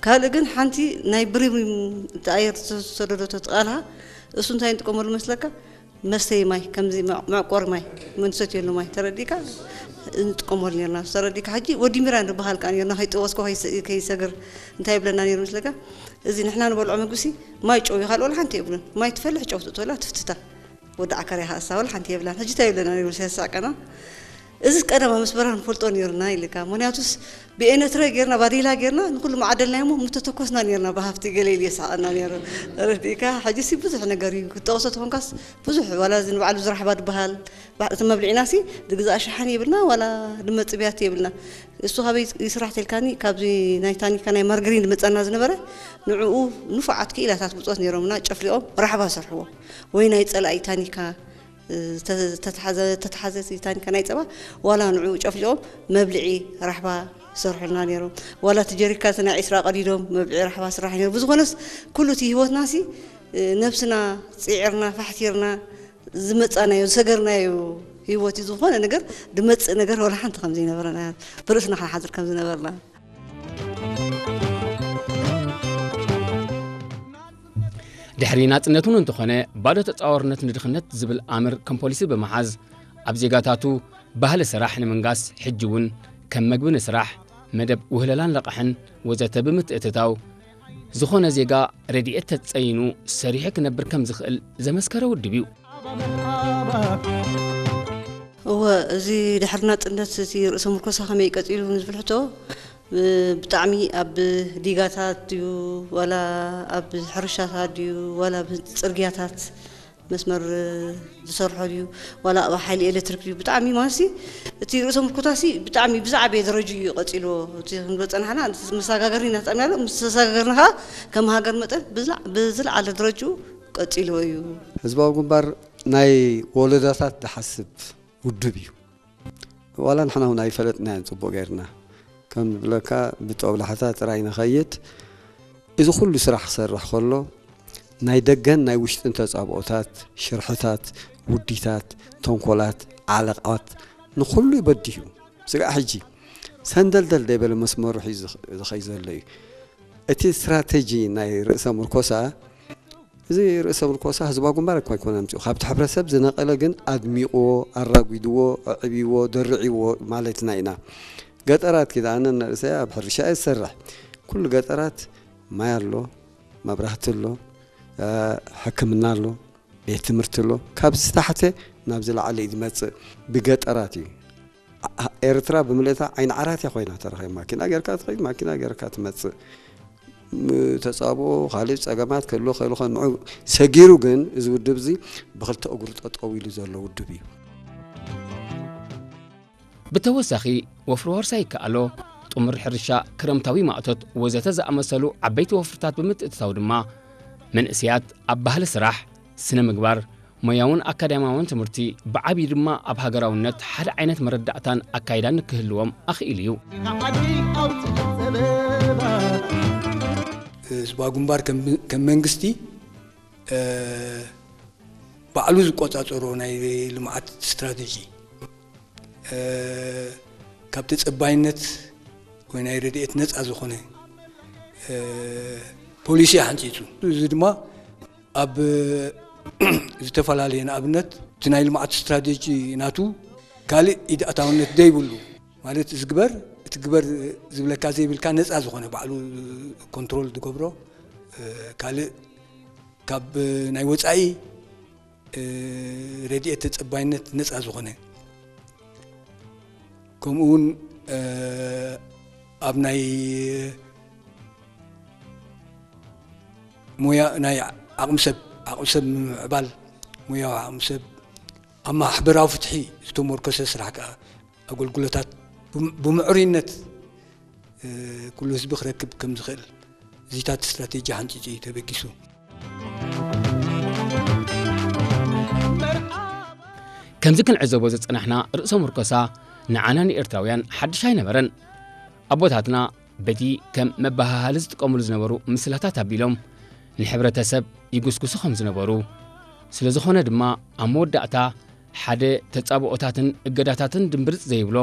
ካልእ ግን ሓንቲ ናይ ብሪም፣ እቲ ኣየር ዝተሰደዶ ተትቃልሃ፣ እሱ እንታይ ንጥቀመሉ መስለካ? መስተይ ማይ፣ ከምዚ መ-፣ መዕቆሪ ማይ፣ መንሰት የሉ ማይ ተረዲካ እንጥቀመሉ ነርና። ተረዲካ ሕጂ ወዲ ሚራ ንበሃል ከኣ ነርና፣ ከይጠወስኮ ከይሰ-፣ ከይሰግር እንታይ ይብለና ነይሩ መስለካ? እዚ ንሕና ንበልዖ ምግብሲ ማይ ጨው ይኻልኦ ሓንቲ የብሉን። ማይ ትፈልሕ ጨው ትእትወላ ትፍትታ። ወዲ ዓካር ይሃሳ ወላ ሓንቲ የብላን። ሕጂ እንታይ ይብለና ነይሩ ሲያሳቀና? እዚ ቀደማ ምስ በረኻ ንፈልጦ ነይርና ኢልካ። ምኽንያቱስ ብኤነትረ ጌርና፣ ባዴላ ጌርና፣ ንኹሉ መዓደልናዮ እሞ ምተተኮስና ነይርና ብሃፍቲ ገለ ኢሉ የስሓቐና ነይሩ። ረዲእካ? ሕጂሲ ብዙሕ ነገር እዩ። ክትጠቕሶ ተኾንካስ ብዙሕ፣ ዋላ እዚ ንባዕሉ ዝራሕባ ድበሃል፣ ባ-፣ እቲ መብልዒናሲ ድግዛእ ሸሓኒ የብልና፣ ዋላ ድመጽብያት የብልና። እሱ ካበይ ይስራሕ ተልካኒ? ካብዚ ናይ ታኒካ ናይ ማርገሪን ድመጸና ዝነበረ፣ ንዕኡ ንፉዓት ክኢላታት ብጾት ነይሮምና፣ ጨፍሊቖም ራሕባ ሰርሕዎ። ወይ ናይ ጸላኢ ታኒካ፣ እ፣ ተ-፣ ተተሓዘ-፣ ተተሓዘ ታኒካ ናይ ጸባ፣ ዋላ ንዕኡ ጨፍሊቖም መብልዒ ራሕባ ይሰርሑልና ነይሮም። ዋላ እቲ ጀሪካ እቲ ናይ ዒስራ ቀዲዶም መብልዒ ራሕባ ስራሕ ነይሩ። ብዝኾነስ፣ ኩሉ እቲ ህይወትናሲ፣ እ፣ ነብስና ጽዒርና፣ ፋሕቲርና ዝመጻናዮ፣ ዝሰገርናዮ ህይወት እዩ። ዝኾነ ነገር ድመጽእ ነገር ዋላ ሓንቲ ከም ዘይነበረና፣ ብርእስና ክንሓድር ከም ዝነበርና። ድሕሪ ናጽነት እውን እንተኾነ፣ ባዶ ተጻዋርነት ንድኽነት ዝብል ኣምር ከም ፖሊሲ ብምሓዝ፣ ኣብ ዜጋታቱ ባህሊ ስራሕ ንምንጋስ፣ ሕጂ እውን ከም መግቢ ንስራሕ፣ መደብ ውህለላን ለቓሕን ወዘተ ብምትእትታው፣ ዝኾነ ዜጋ ረድኤት ተጸይኑ ሰሪሑ ክነብር ከም ዝኽእል ዘመስከረ ውድብ እዩ። እወ፣ እዚ ድሕሪ ናጽነት እቲ ርእሰ ምርኮሳ ከመይ ቀጺሉ ንዝብል ሕቶ፣ ብ-፣ ብጣዕሚ ኣብ ዲጋታት ድዩ፣ ዋላ ኣብ ሕርሻታት ድዩ፣ ዋላ ኣብ ጽርግያታት መስመር ዝሰርሖ ድዩ፣ ዋላ ኣብ ሓይሊ ኤሌክትሪክ ድዩ፣ ብጣዕሚ ማለትሲ፣ እቲ ርእሰ ምርኮታሲ ብጣዕሚ ብዝዓበየ ደረጃ እዩ ቀጺልዎ። እቲ ክንብል ጸናሕና፣ መሰጋገሪ እናተጠቕምናሉ፣ ምስ ተሰጋገርና ከኣ ከም ሃገር መጠን ብዝላ-፣ ብዝለዓለ ደረጃኡ ቀጺልዎ እዩ። ህዝባዊ ግንባር ናይ ወለዶታት ዝሓስብ ውድብ እዩ። ዋላ ንሕና እውን ኣይፈለጥናዮን ጽቡቕ ጌርና። ከም ዝብለካ ብጦብላሕታ ጥራይ ንኸይድ፣ እዚ ኩሉ ስራሕ ክሰርሕ ከሎ፣ ናይ ደገን ናይ ውሽጥን ተጻብኦታት፣ ሽርሕታት፣ ውዲታት፣ ተንኮላት፣ ዓለቓት፣ ንኹሉ ይበድህ እዩ። ስጋዕ ሕጂ ሰንደልደል ደይበለ መስመሩ ሒዙ ዝኽ-፣ ዝኸይ ዘሎ እዩ። እቲ ስትራተጂ ናይ ርእሰ ምርኮሳ፣ እዚ ርእሰ ምርኮሳ ህዝባዊ ግንባር እኳ ኣይኮነ ኣምጺኡ። ካብቲ ሕብረተሰብ ዝነቐለ ግን ኣድሚቕዎ፣ ኣራጒድዎ፣ ኣዕብይዎ፣ ደርዕይዎ ማለትና ኢና። ገጠራት ኪዳ ኣነ ንርእሰይ ኣብ ሕርሻ እየ ዝሰርሕ። ኩሉ ገጠራት ማይ ኣሎ፣ መብራህቲ ኣሎ፣ እ፣ ሕክምና ኣሎ፣ ቤት ትምህርቲ ኣሎ። ካብ ዝታሕተ ናብ ዝለዓለ እዩ ዝመጽእ። ብገጠራት እዩ። ኣ-፣ ኤርትራ ብምልእታ ዓይኒ ዓራት እያ ኮይና ተረኺባ። ማኪና ጌርካ ትኸይድ፣ ማኪና ጌርካ ትመጽእ። ም-፣ ተጻብኦ፣ ካልእ ጸገማት ክህልዎ ክኽእል ይኸውን። ንዑ ሰጊሩ ግን እዚ ውድብ እዚ ብኽልተ እግሩ ጠጠው ኢሉ ዘሎ ውድብ እዩ። ብተወሳኺ፣ ወፍሪ ዋርሳይ ይከኣሎ፣ ጥሙር ሕርሻ፣ ክረምታዊ ማእቶት ወዘተ ዝኣመሰሉ ዓበይቲ ወፍርታት ብምትእትታው ድማ፣ መንእሰያት ኣብ ባህሊ ስራሕ፣ ስነ ምግባር፣ ሞያውን ኣካዳሚያውን ትምህርቲ፣ ብዓብዪ ድማ ኣብ ሃገራውነት ሓደ ዓይነት መረዳእታን ኣካይዳን ንክህልዎም ኣኽኢሉ እዩ። ህዝባዊ ግንባር ከም፣ ከም መንግስቲ፣ እ፣ ባዕሉ ዝቆጻጸሮ ናይ ልምዓት ስትራተጂ፣ እ፣ ካብ ተጸባይነት ወይ ናይ ረድኤት ነጻ ዝኾነ፣ እ፣ ፖሊሲ ሓንጺጹ። እዚ ድማ ኣብ ዝተፈላለየ፣ ንኣብነት፣ እቲ ናይ ልምዓት ስትራተጂ ናቱ ካልእ ኢድ ኣታውነት ዘይብሉ፣ ማለት፣ እዚ ግበር፣ እቲ ግበር ዝብለካ ዘይብልካ ነጻ ዝኾነ፣ ባዕሉ ኮንትሮል ዝገብሮ፣ እ፣ ካልእ ካብ ናይ ወጻኢ፣ እ፣ ረድኤት ተጸባይነት ነጻ ዝኾነ፣ ከምኡ እውን፣ እ፣ ኣብ ናይ ሞያ፣ ናይ ዓቕሚ ሰብ፣ ዓቕሚ ሰብ ምምዕባል፣ ሞያዊ ዓቕሚ ሰብ፣ ኣብ ማሕበራዊ ፍትሒ ዝተመርኮሰ ስራሕ ከኣ፣ ኣገልግሎታት ብም-፣ ብምዕሩይነት፣ እ፣ ኩሉ ህዝቢ ክረክብ ከም ዝኽእል እዚታት ስትራቴጂ ሓንጺጹ እዩ ተበጊሱ። ከምዚ ክንዕዘቦ ዝጸናሕና ርእሰ ምርኮሳ ንዓና ንኤርትራውያን ሓድሽ ኣይነበረን። ኣቦታትና በቲ ከም መበሃሃሊ ዝጥቀሙሉ ዝነበሩ ምስላታት ኣቢሎም ንሕብረተሰብ ይጉስጉሱ ከም ዝነበሩ፣ ስለ ዝኾነ ድማ ኣብ መወዳእታ ሓደ ተጻብኦታትን እገዳታትን ድምብርጽ ዘይብሎ